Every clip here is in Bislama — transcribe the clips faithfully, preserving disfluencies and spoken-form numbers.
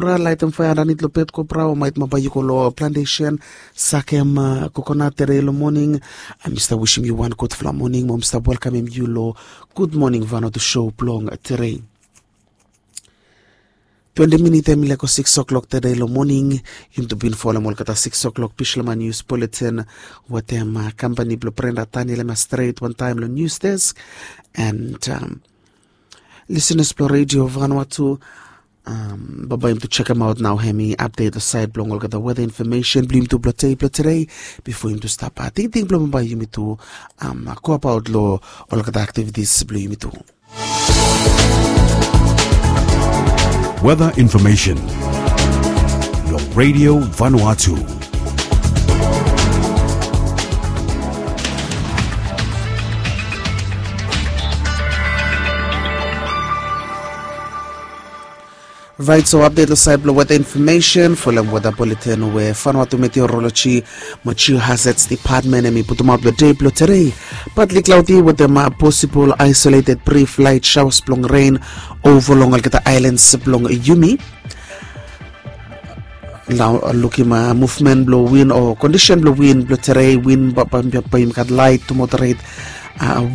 Ra laitim faea andanit long bed kobra o maet maba yu go long plantesen sakem kokonat tede long moning. Mi stap wisim yu wan gudfala moning mo mi stap welkamim yu long gud moning vanotu sho blong tede. Twenti minit em i leko sikis oklok tede long moning. Yumi tu bin folem olgeta sikis oklok bislama nius buletin wetem kampani blong brenda taniel ema stret wantaem long nius desk. And lisenas blong redio vanua tu bambae yumi tu sekemaot nao hem i apdet long saed blong olgeta weta infomesen blong yumi tu blong tei blong tede. Bifo yumi tu stap tingting blong bambae yumi tu go abaot long olgeta aktivitis blong yumi tu. Weather information long Radio Vanuatu. Rait so apdet long saed blong weta infomesen folem weta buletin we Vanuatu Meteorologi mo Geohazards Department em i putumaot long dei blong tede. Partly cloudy wetem posibol isolated brief light showers blong rain ova long olgeta aelans blong yumi. Nao lukim muvmen blong win o kondisen blong win blong tede. Win bae yumi gat light tu moderet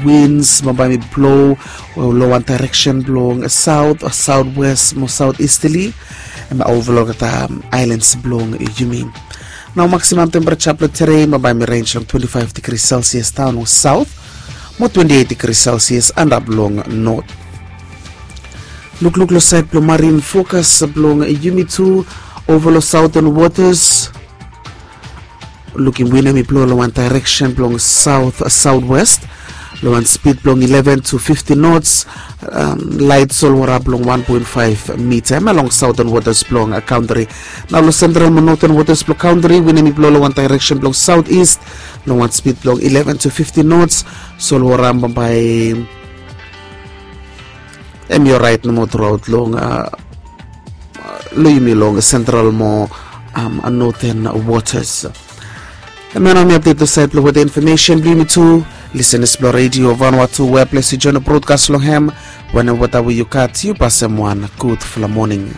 wins bambae mi blo long wan daireksen blong saot, saot west mo saot istili. Em ova long olgeta aelans blong yumi. Nao maksimam tempereja blong tede bambae mi rens long twenti faef digri selsias daon long saot mo twenti eit digri selsias antap long not. Lukluk long saed blong marin fokas blong yumi tu ova long saoten wotas. Lukim win em i blo long wan daireksen blong saot saot west long wan spid blong eleven to fiftin nots. Laet solwara blong wan poen faef mita em ya long saoten wotas blong kantri. Nao long sentral mo noten wotas blong kantri win em i blo long wan daireksen blong saot ist long wan spid blong eleven to fiftin nots. Solwara bambae em i oraet nomo truaot long long yumi long sentral mo noten wotas. Em ya nao mi apdet long saed blong weta infomesen blong yumi tu. Lisenas blong redio vanua tu we ples yu joen brodkas long hem. Wanem weta we yu gat yu pasem wan gudfala moning.